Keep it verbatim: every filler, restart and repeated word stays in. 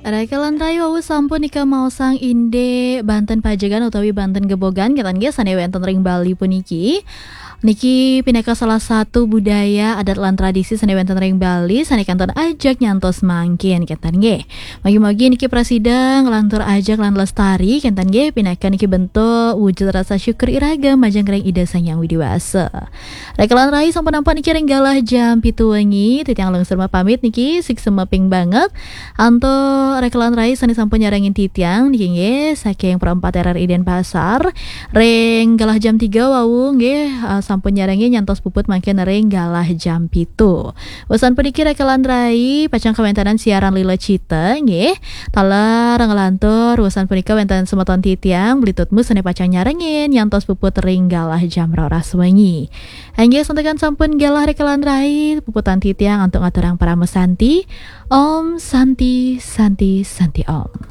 Raka lan rai, wau sampun nika maosang indik banten pajegan utawi banten gebogan, kenten nggih, sane wenten ring Bali puniki. Niki pinaka salah satu budaya, adat lan tradisi sane wenten ring Bali, sane kantun ajeg nyantos mangkin, kenten nggih. Mugi-mugi niki prasida nglantur ajeg lan lestari, kenten nggih, pinaka niki bentuk wujud rasa syukur iraga majeng ring Ida Sang Hyang Widi Wasa. Raka lan rai, sampun nampak niki ring galah jam pitu wengi, titiang lungsur mapamit niki, suksma ping banget. Antuk raka lan rai sane sampun nyarengin titiang niki nggih, saking Pro empat R R I Denpasar. Ring galah jam tiga wau nggih, eh, sampun nyarengin nyantos puput mangkin ring galah jam pitu. Wusan puniki raka lan rai, pacang kawentanan siaran Lila Cita nggih. Taler nglantur wusan punika wenten semeton titiang, Beli Tutmu sane pacang nyarengin nyantos puput ring galah jam roras wengi. Inggih, santukan sampun galah raka lan rai, puputan titiang antuk ngaturang parama santi. Om Santi, Santi, Santi Om.